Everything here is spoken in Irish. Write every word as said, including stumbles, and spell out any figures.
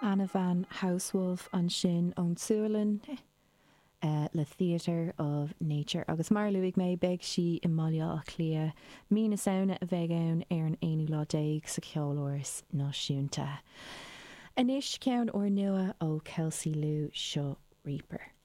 Anna Van Householf ansin ón tSualainn uh, le Theatre of Nature agus mar luaigh mé beidh sí i mBaile Átha Cliath mí na Samhna a bheidh ann ar an aonú lá déag sa Cheoláras Náisiúnta. Anois ceann úrnua ó Kelsey Lu seo Reaper.